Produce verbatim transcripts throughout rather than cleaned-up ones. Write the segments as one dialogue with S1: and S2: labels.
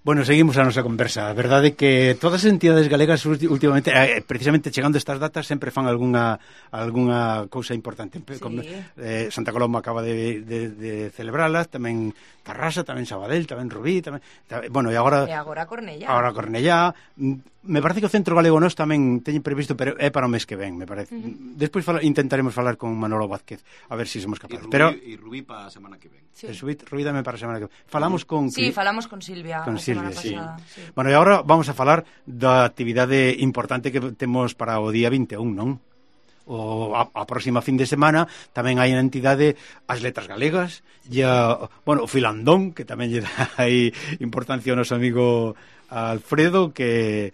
S1: Bueno, seguimos a nosa conversa. A verdade é que todas as entidades galegas últimamente, eh, precisamente chegando estas datas, sempre fan algunha algunha cousa importante. Sí. Como, eh, Santa Coloma acaba de, de, de celebrala, tamén Tarrasa, tamén Sabadell, tamén Rubí, tamén, tamén bueno, e agora
S2: E agora Cornellá.
S1: Agora Cornellá. Me parece que o Centro Galego Nós tamén teñen previsto, pero é para o mes que ven, me parece. Uh-huh. Despois fala, intentaremos falar con Manolo Vázquez a ver se si somos capaces.
S3: E Rubí,
S1: pero
S3: e Rubí para a semana que ven.
S2: Sí.
S1: Rubí, Rubí dame para a semana que ven. Falamos con
S2: Sí, falamos con Silvia
S1: con
S2: a semana
S1: Silvia,
S2: pasada.
S1: Sí.
S2: Sí.
S1: Bueno, e agora vamos a falar da actividade importante que temos para o día vinte e un, non? O a, a próxima fin de semana tamén hai na entidade as letras galegas e a, bueno, o filandón, que tamén lle dá aí importancia ao noso amigo Alfredo, que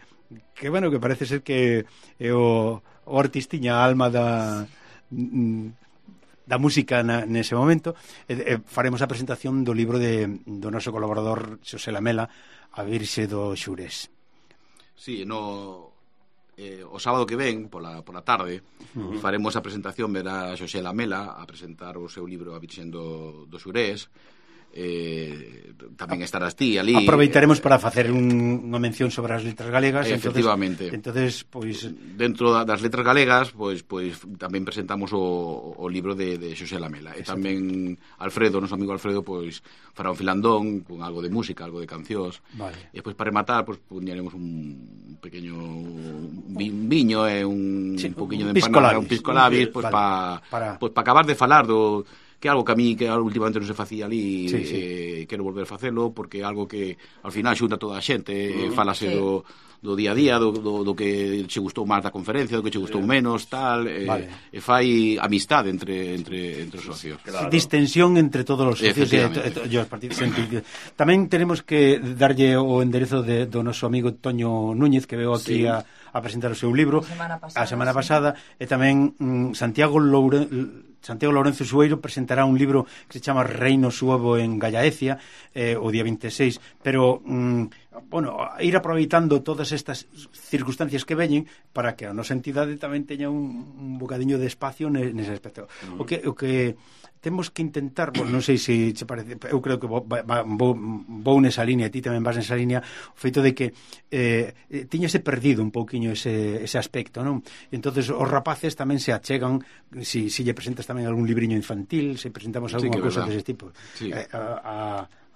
S1: que bueno, que parece ser que é o, o artistiña, a alma da da música na, nese momento. E, e faremos a presentación do libro de, do noso colaborador Xosé Lamela, A Virxe do Xurés.
S3: Sí, no eh, o sábado que ven, pola, pola tarde, uh-huh. faremos a presentación, verá Xosé Lamela a presentar o seu libro A Virxe do, do Xurés. Eh, tamén estarás ti ali.
S1: Aproveitaremos para facer un, unha mención sobre as letras galegas.
S3: Efectivamente.
S1: Entonces, pois
S3: dentro das letras galegas, pois pois tamén presentamos o, o libro de, de Xosé Lamela. E tamén Alfredo, noso amigo Alfredo, pois fará un filandón con algo de música, algo de cancións.
S1: Vale.
S3: E pois para rematar, pois poñeremos un pequeño un viño e un, sí, un poquinho de empanada, un pisco labis, pois vale. pa, para pois para acabar de falar do que é algo que a mí que últimamente non se facía ali, sí, sí. Eh, quero volver a facelo porque é algo que ao final xunta toda a xente, uh-huh. eh, falase sí. do, do día a día, do, do, do que che gustou máis da conferencia, do que che gustou menos, tal, eh, vale. E fai amistade entre entre entre os socios.
S1: Claro. Distensión entre todos os socios e, e, e os partidos. Tamén tenemos que darlle o enderezo de, do noso amigo Toño Núñez, que veo aquí sí. a, a presentar o seu libro
S2: a semana pasada,
S1: a semana
S2: sí.
S1: pasada, e tamén mm, Santiago Loure Santiago Lourenzo Sueiro presentará un libro que se chama Reino Suevo en Gallaecia eh, o día vinte e seis, pero mm, bueno, ir aproveitando todas estas circunstancias que veñen para que a nosa entidade tamén teña un, un bocadiño de espacio nese aspecto. Mm. O que o que temos que intentar, bueno, non sei se se parece, eu creo que vou, vou, vou nesa línea, ti tamén vas nesa línea, o feito de que eh, tiñase perdido un pouquiño ese, ese aspecto, non? E entonces os rapaces tamén se achegan, si, si lle presentas tamén algún libriño infantil, se presentamos algunha sí, cousa dese tipo. Sí. Eh, a, a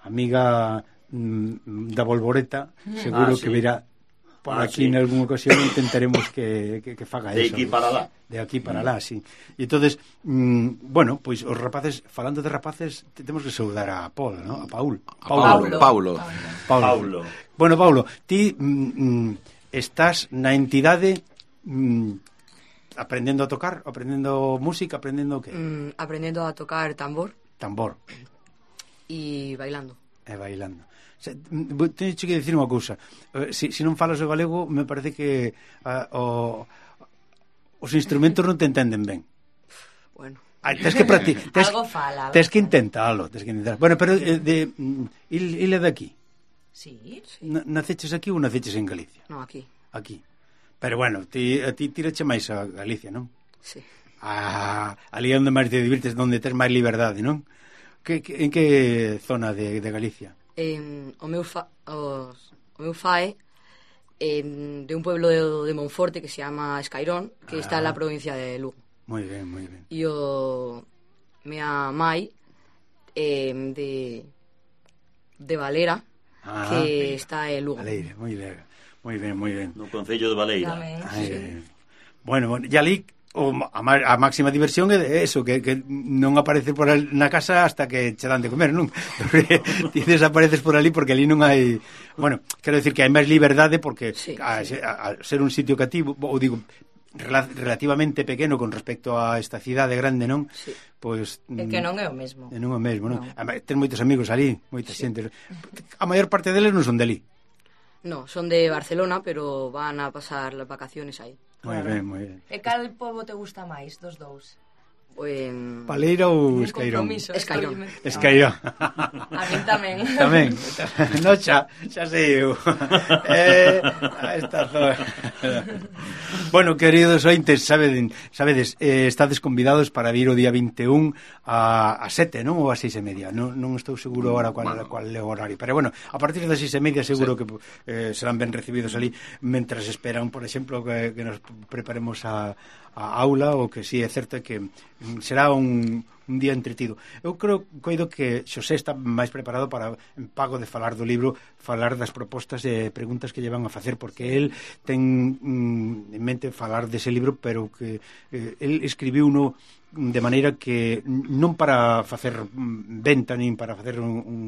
S1: amiga mm, da Bolboreta, seguro ah, sí. que virá por ah, aquí sí. en algunha ocasión intentaremos que, que, que faga
S4: de
S1: eso.
S4: De aquí para lá.
S1: De aquí para lá, sí. E entonces, mmm, bueno, pois pues, os rapaces, falando de rapaces, temos que saudar a Paul, ¿no? A Paul.
S3: Paulo. Paulo. Paulo.
S1: Paulo. Paulo. Bueno, Paulo, ti mm, estás na entidade mm, aprendendo a tocar, aprendendo música, aprendendo que?
S5: Mm, aprendendo a tocar tambor.
S1: Tambor.
S5: E bailando.
S1: E bailando. Teño que dicir unha cousa, se, se non falas o galego me parece que uh, o, os instrumentos non te entenden ben.
S5: Bueno,
S1: Ay, tes que practicar, tes,
S2: algo fala, algo
S1: tes que intentalo, tes que intentar. Bueno, pero eh, de il, ile de aquí.
S2: Sí, sí.
S1: Naceches aquí ou naceches en Galicia?
S5: No, aquí.
S1: Aquí. Pero bueno, ti a ti tirache máis a Galicia, non?
S5: Sí.
S1: Ah, ali onde máis te divirtes, onde tes máis liberdade, non? Que, que, en que zona de, de Galicia?
S5: Eh, o meu fa, os, o meu fae eh, de un pueblo de, de Monforte que se llama Escairón, que ah. está en la provincia de Lugo.
S1: Moi ben, moi ben.
S5: E o mea mai eh, de de Valera, ah, que ben. Está en Lugo.
S1: Valera, moi ben, moi ben, moi ben.
S4: No concello de Valera.
S1: Ay, sí. Bueno, bueno, e ali o, a, a máxima diversión é eso, que, que non apareces por ali na casa hasta que che dan de comer, non? Ti desapareces por ali porque ali non hai... Bueno, quero decir que hai máis liberdade porque sí, a, sí. A, a ser un sitio cativo, ou digo, rel relativamente pequeno con respecto a esta cidade grande, non?
S5: Sí.
S1: Pois...
S2: É que non é o mesmo.
S1: É non é o mesmo, non?
S2: No.
S1: Ten moitos amigos ali, moita
S5: sí.
S1: xente. A maior parte deles non son de ali.
S5: No, son de Barcelona, pero van a pasar las vacaciones aí.
S1: Moi claro. ben, moi ben.
S2: E cal pobo te gusta máis dos dous?
S5: En...
S1: Paleira ou Escairón?
S5: Escairón.
S1: Escairón.
S2: A min tamén.
S1: Tamén. No, xa, xa sei eu. Eh, esta zona. Bueno, queridos ointes, sabedes, sabedes eh, estades convidados para vir o día vinte e un a, a sete, non? Ou a seis e media. Non, non estou seguro agora cual, bueno. cual é o horario. Pero bueno, a partir das seis e media seguro sí. que eh, serán ben recibidos ali, mentras esperan, por exemplo, que, que nos preparemos a a aula, o que si sí, é certo que será un, un día entretido. Eu creo, coido que Xosé está máis preparado para, en pago de falar do libro, falar das propostas e preguntas que lle van a facer, porque el ten mm, en mente falar dese libro, pero que eh, el escribiu uno de maneira que non para facer venta, nin para facer un, un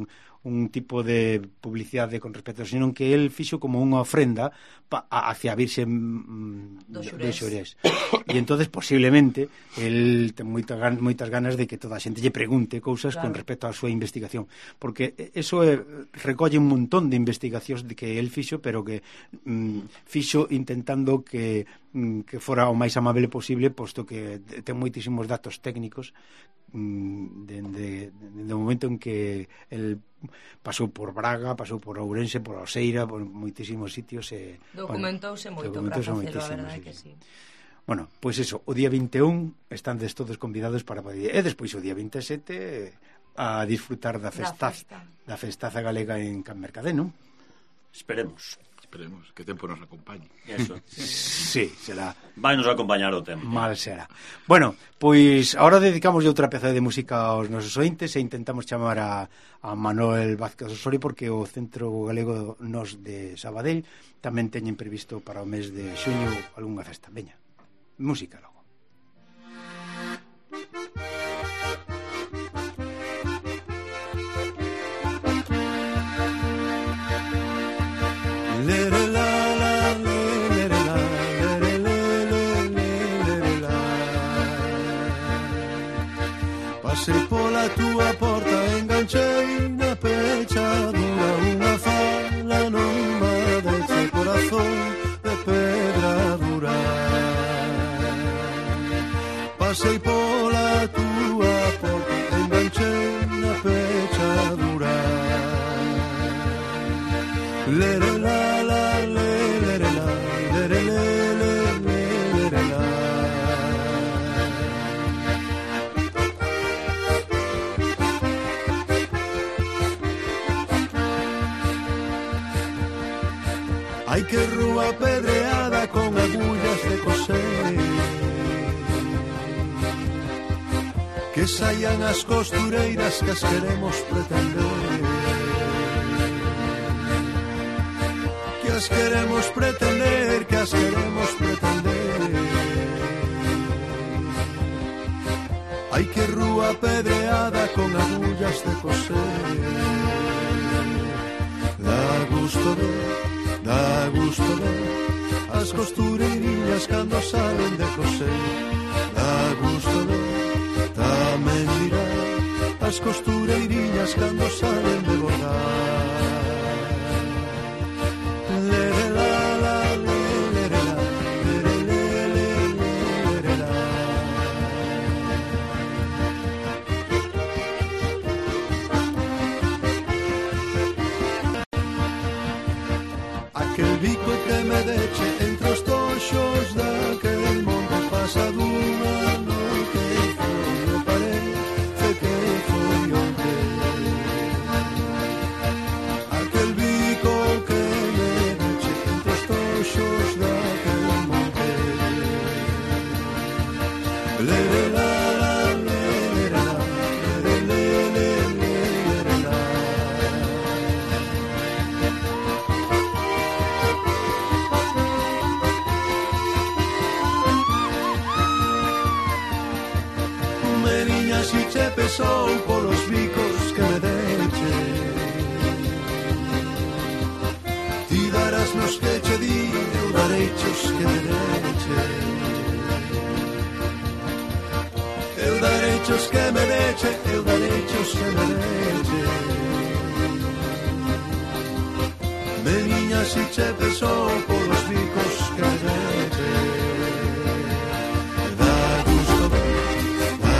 S1: un tipo de publicidade con respecto, sino que el fixo como unha ofrenda pa, a, hacia a Virxe mm, do Xurés. E entonces posiblemente el ten moitas, moitas ganas de que toda a xente lle pregunte cousas claro. con respecto á súa investigación, porque eso é, recolle un montón de investigacións de que el fixo, pero que mm, fixo intentando que que fora o máis amable posible, posto que ten moitísimos datos técnicos dende de, o momento en que el pasou por Braga, pasou por Ourense, por Oseira, por moitísimos sitios e,
S2: documentouse
S1: bueno,
S2: moito para facelo, a verdade que sí. Bueno, pois pues eso, o día vinte e un están des todos convidados para poder, e despois o día vinte e sete a disfrutar da festaz, da, festa. da festaza galega en Can Mercadé, non?
S4: Esperemos.
S3: Esperemos que o tempo nos acompañe.
S4: Eso.
S1: Sí, será.
S4: Vai nos acompañar o tempo.
S1: Mal será. Bueno, pois agora dedicamos outra peza de música aos nosos ointes e intentamos chamar a, a Manuel Vázquez Osorio, porque o Centro Galego Nos de Sabadell tamén teñen previsto para o mes de xuño algunha festa. Veña, música logo.
S6: Pasei pola túa porta, enganchei na pechadura unha fala nunha deste corazón de pedra dura. Pasei pola túa porta, enganchei na pechadura. Lere la la lere la lere le lere la. Ai que rúa pedreada con agullas de coser, que saian as costureiras que as queremos pretender, que as queremos pretender, que as queremos pretender. Ai que rúa pedreada con agullas de coser, dá gusto ver, dá gusto ver as costureirinhas cando salen de coser, dá gusto ver, tamén mirar as costureirinhas cando salen de bordar. Lere la la lere la lere le lere la. Aquel bico que me deche entre os toxos daquel monte pasa dunha noite foi o parece que foi onte. Aquel bico que me deche entre os toxos daquel monte. Lere la la lere la lere le lere la. Meriña si che pesou polos bicos que me deche, ti darás nos que che di, eu darechos que me deche, eu darechos que me deche, eu darechos que me deche. Meriña si che pesou polos bicos que me deche, dá gusto ver, dá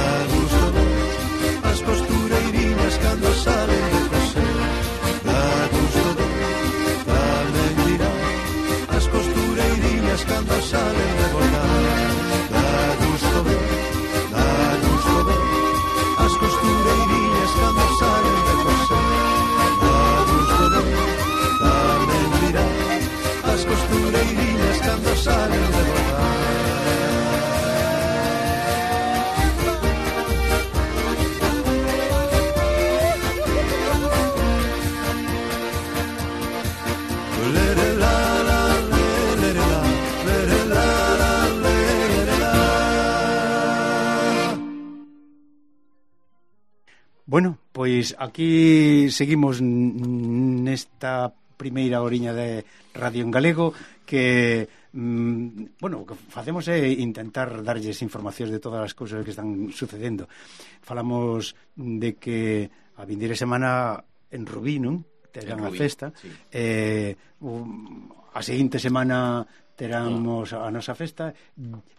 S2: Bueno, pois aquí seguimos nesta primeira horiña de Radio en Galego que, mm, bueno, o que facemos é intentar darlles informacións de todas as cousas que están sucedendo. Falamos de que a vindeira semana en Rubí, non? Terán a festa. Sí. Eh, a seguinte semana teramos a nosa festa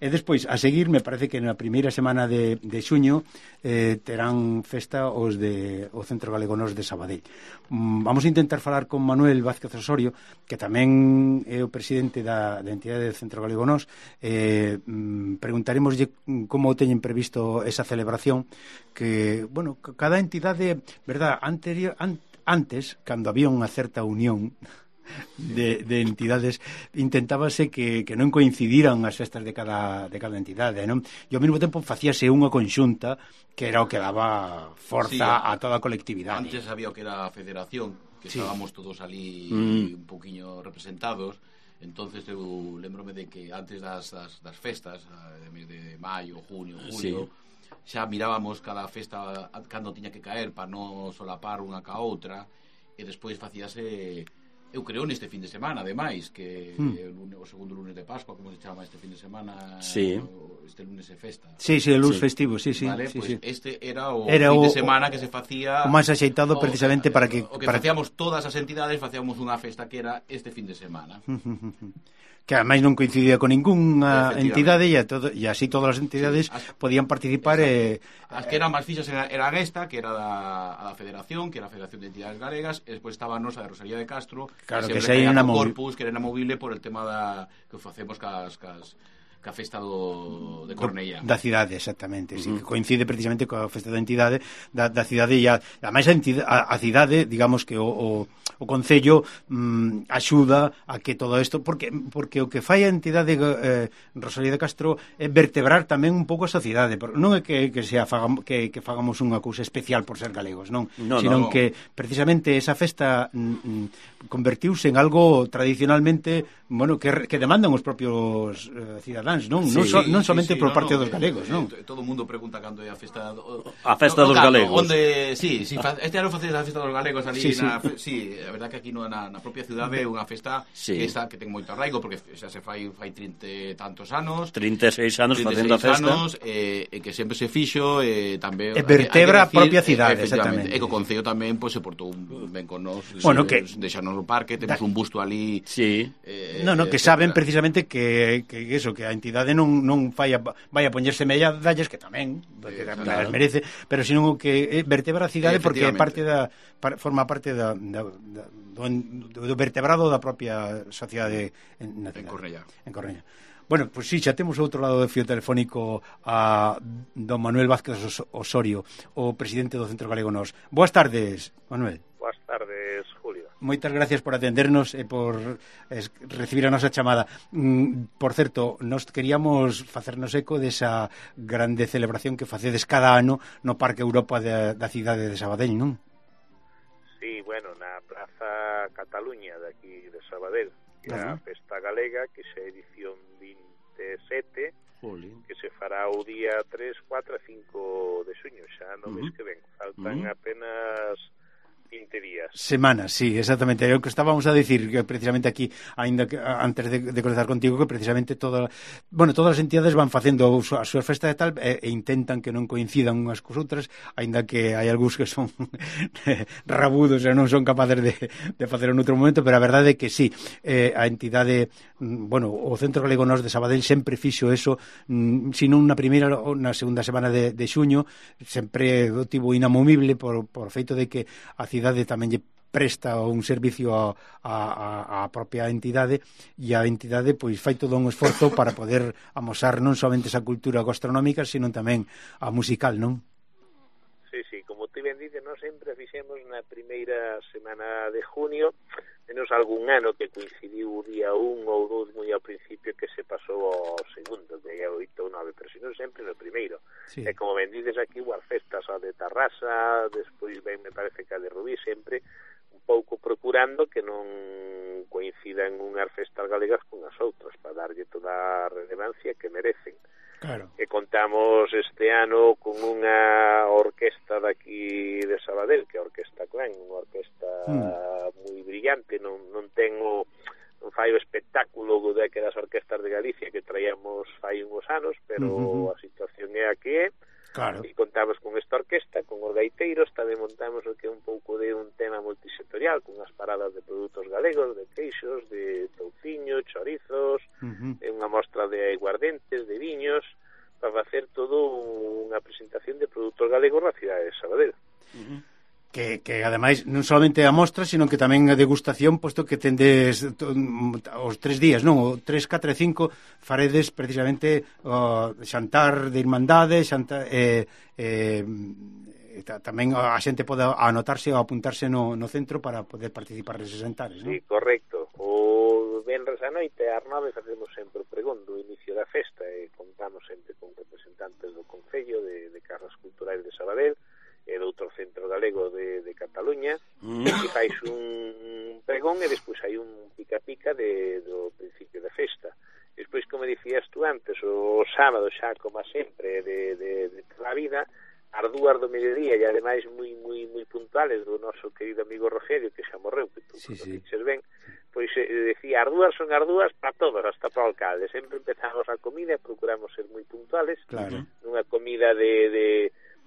S2: e despois, a seguir, me parece que na primeira semana de, de xuño eh, terán festa os de o Centro Galego Nós de Sabadell. Mm, vamos a intentar falar con Manuel Vázquez Osorio, que tamén é o presidente da, da entidade do Centro Galego Nós. Eh, mm, preguntaremoslle como teñen previsto esa celebración, que, bueno, cada entidade, verdad, anterior, an, antes, cando había unha certa unión De, de entidades, intentábase que, que non coincidiran as festas de cada, de cada entidade, non? E ao mesmo tempo facíase unha conxunta que era o que daba forza sí, a toda a colectividade.
S3: Antes había o que era a federación, que sí. Estábamos todos ali mm. un poquinho representados. Entonces eu lembrome de que antes das, das, das festas, de mes de maio, junio, julio, sí. Xa mirábamos cada festa cando tiña que caer para non solapar unha ca outra, e despois facíase... Eu creo neste fin de semana, ademais, que hmm. o, lunes, o segundo lunes de Pascua, como se chama este fin de semana,
S2: sí.
S3: o, este lunes é festa.
S2: Sí, sí, el lunes sí. festivo, sí, sí.
S3: Vale,
S2: sí,
S3: pues
S2: sí.
S3: Este era o
S2: era
S3: fin
S2: o,
S3: de semana que se facía...
S2: O máis axeitado o, precisamente para que...
S3: O que
S2: para...
S3: facíamos todas as entidades, facíamos unha festa que era este fin de semana.
S2: Que ademais non coincidía con ninguna entidade e, a todo, e así todas as entidades sí, as, podían participar e,
S3: as que eran máis fixas era, era esta, que era da, da Federación, que era a Federación de Entidades Galegas, e despois estaba a nosa de Rosalía de Castro,
S2: claro,
S3: que,
S2: que se era
S3: Corpus, que era inamovible por el tema da, que facemos cas, cas ca festa do, de Cornellá.
S2: Da cidade, exactamente, uh -huh. sí, que coincide precisamente coa festa da entidade da, da cidade e a, a máis a, a, a cidade, digamos que o, o, o Concello mm, axuda a que todo isto, porque porque o que fai a entidade eh, Rosalía de Castro é vertebrar tamén un pouco a sociedade, non é que, que, sea, fagam, que, que fagamos unha cousa especial por ser galegos, non, no, sino no, no. que precisamente esa festa mm, convertiuse en algo tradicionalmente, bueno, que, que demandan os propios eh, cidadáns, non, sí, non, so, non somente sí, sí, por no, parte no, dos galegos, non?
S3: Todo o mundo pregunta cando é a festa
S4: a festa no, dos no, galegos.
S3: Onde, sí, sí, este ano facedes a festa dos galegos ali sí, na, sí. sí, a verdad que aquí no, na, na propia cidade é unha festa sí. que está que ten moito arraigo porque xa se fai fai trinta e tantos anos,
S4: trinta e seis anos facendo a festa.
S3: Anos, e, e que sempre se fixo e tamén
S2: e vertebra a propia cidade, exactamente.
S3: E co Concello tamén pois se portou ben con nós,
S2: bueno, que
S3: deixanos no parque, temos un busto ali.
S2: Sí. Eh, no, no, que saben precisamente que que eso, que a entidade non non fai a, vai a poñerse medallas, que tamén, porque tamén claro. merece, pero senón o que vertebra a cidade porque é parte da forma parte da, da, da do, do vertebrado da propia sociedade en,
S3: en Cornellá.
S2: En Cornellá. Bueno, pois pues sí, xa temos outro lado do fío telefónico a don Manuel Vázquez Osorio, o presidente do Centro Galego Nós. Boas tardes, Manuel.
S7: Boas tardes, Julio.
S2: Moitas gracias por atendernos e por es, recibir a nosa chamada. Mm, por certo, nos queríamos facernos eco desa grande celebración que facedes cada ano no Parque Europa da, da cidade de Sabadell, non?
S7: Sí, bueno, na Praza Cataluña de aquí de Sabadell, que é a Festa Galega, que xa é edición vinte e sete, Jolín. Que se fará o día tres, catro e cinco de xuño, xa no mes uh -huh. que ven. Faltan uh -huh. apenas vinte días.
S2: Semanas, sí, exactamente. É o que estábamos a dicir que precisamente aquí, ainda que antes de, de conectar contigo, que precisamente toda, bueno, todas as entidades van facendo a súa festa de tal e, e intentan que non coincidan unhas cos outras, aínda que hai algúns que son rabudos e non son capaces de, de facer en outro momento, pero a verdade é que sí, eh, a entidade, bueno, o Centro Galego Nós de Sabadell sempre fixo eso, sino na primeira ou na segunda semana de, de xuño, sempre o tivo inamovible por, por feito de que a cidade tamén lle presta un servicio a, a, a propia entidade e a entidade pois fai todo un esforzo para poder amosar non somente esa cultura gastronómica, sino tamén a musical, non?
S7: Sí, sí, como ti ben dices, nós sempre fixemos na primeira semana de junio, menos algún ano que coincidiu o día un ou dous moi ao principio que se pasou ao segundo, de oito ou nove, pero senón sempre no primeiro. Sí. E como ben dices aquí, as festas a de Tarrasa, despois ben me parece que a de Rubí, sempre un pouco procurando que non coincidan unhas festas galegas con as outras, para darlle toda a relevancia que merecen.
S2: Claro.
S7: E contamos este ano con unha orquesta daqui fai uns anos, pero uh-huh. a situación é a que é.
S2: Claro.
S7: E contamos con esta orquesta, con os gaiteiros, tamén montamos o que é un pouco de un tema multisectorial, con as paradas de produtos galegos, de queixos, de touciño, chorizos, uh-huh. e unha mostra de aiguardentes, de viños, para facer todo unha presentación de produtos galegos na cidade de Sabadell.
S2: Uh-huh. Que, que ademais non solamente a mostra, sino que tamén a degustación, posto que tendes os tres días, non? O tres, catro e cinco faredes precisamente o xantar de irmandade, xantar, eh, eh, tamén a xente pode anotarse ou apuntarse no, no centro para poder participar neses xantares, non?
S7: Sí, correcto. O venres a noite ás nove facemos sempre o pregón do inicio da festa e contamos sempre con representantes do Concello de, de Casas Culturais de Sabadell e do outro centro galego de, de Cataluña, mm. e fais un pregón e despois hai un pica-pica de, do principio da festa. Despois, como dicías tú antes, o sábado xa, como sempre, de, de, de toda a vida, as dúas do mediodía, e ademais moi, moi, moi puntuales do noso querido amigo Rogelio, que xa morreu, que tú sí, sí. ben, pois eh, decía, as dúas son as dúas para todos, hasta para o alcalde. Sempre empezamos a comida e procuramos ser moi puntuales,
S2: claro.
S7: nunha comida de... de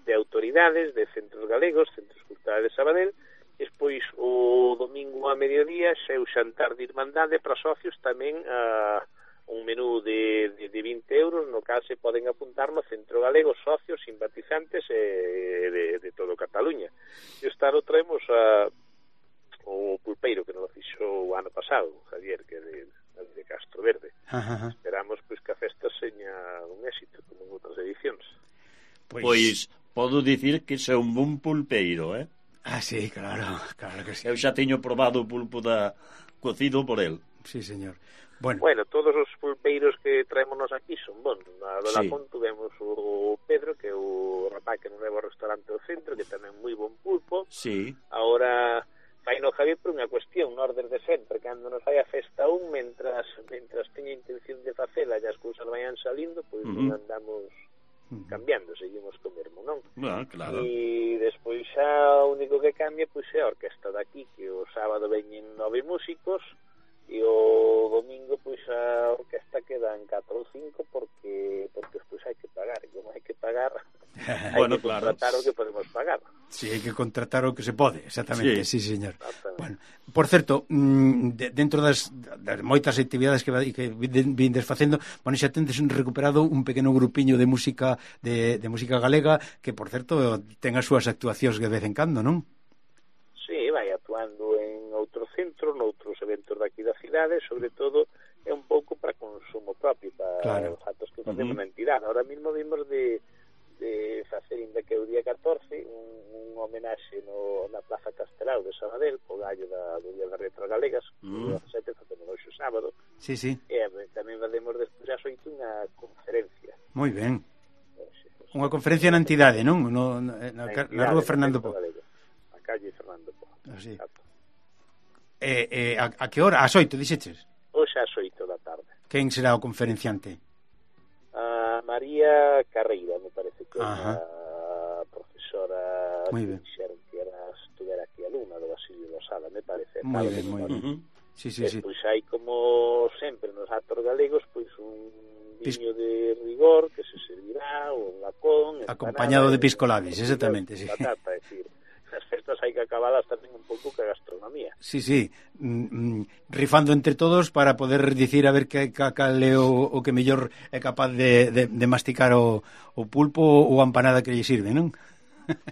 S7: de autoridades, de centros galegos, centros culturales de Sabadell, e despois o domingo a mediodía xa é o xantar de irmandade para socios tamén a un menú de, de, de vinte euros, no cal se poden apuntar no centro galego socios, simpatizantes e de, de todo Cataluña. E esta ano traemos a, o pulpeiro que nos fixo o ano pasado, Javier, que é de, de Castro Verde.
S2: Ajá.
S7: Esperamos pois que a festa seña un éxito, como en outras edicións.
S4: Pois... pois podo dicir que é un bon pulpeiro, eh?
S2: Ah, sí, claro, claro que sí.
S4: Eu xa teño probado o pulpo da cocido por el.
S2: Sí, señor. Bueno,
S7: bueno todos os pulpeiros que traémonos aquí son bons. Na do sí. Lapón tuvemos o Pedro, que é o rapaz que non leva o restaurante do centro, que tamén moi bon pulpo.
S4: Sí.
S7: Ahora vai no Javier por unha cuestión, no orden de sempre, cando nos vai a festa un, mentras, mentras teña intención de facela e as cousas vayan salindo, pois pues, uh-huh. non andamos cambiando, seguimos co mesmo, non?
S4: Bueno, claro.
S7: E despois xa o único que cambia pois é a orquesta daqui, que o sábado veñen nove músicos e o domingo pois a orquesta quedan catro ou cinco porque porque despois hai que pagar, e como hai que pagar hai
S4: bueno,
S7: que contratar
S4: claro.
S7: o que podemos pagar.
S2: Sí, hai que contratar o que se pode, exactamente, sí, sí señor. Bueno, por certo, de, dentro das, das moitas actividades que, que vindes facendo, bueno, xa tendes recuperado un pequeno grupiño de música de, de música galega que, por certo, ten as súas actuacións de vez en cando, non?
S7: Sí, vai actuando en outros centros, noutros eventos daqui da cidade, sobre todo é un pouco para consumo propio, para claro. Os actos que facemos uh-huh. na entidade. Ahora mismo vimos de de facer, ainda que o día catorce, un, un homenaxe no, na Plaza Castelao de Sabadell, co gallo da, do Día das Letras Galegas, mm. o dezasete facemos hoxe o sábado.
S2: Sí, sí.
S7: E tamén facemos despois ás oito unha conferencia.
S2: Moi ben. Unha conferencia na entidade, non? No, na, na, na, na rúa Fernando Po.
S7: Na calle Fernando Po.
S2: Así. Eh, eh, a, a que hora? Ás oito, dixeches?
S7: Hoxe ás oito da tarde.
S2: Quen será o conferenciante?
S7: A María Carreira, me parece que é a profesora
S2: que
S7: dixeron que era estuvera aquí alumna do Basilio Losada, me parece.
S2: Moi ben, moi ben. Uh-huh. Sí, sí, sí.
S7: Pois hai, como sempre, nos actos galegos, pois un viño de rigor que se servirá, un lacón,
S2: acompañado de piscolabis, exactamente, sí.
S7: Patata, é dicir, as festas hai que acabalas tamén un pouco que a gastronomía.
S2: Sí, sí, mm, rifando entre todos para poder dicir a ver que cal é o, o que mellor é capaz de, de, de masticar o, o pulpo ou a empanada que lle sirve, non?
S7: Bueno,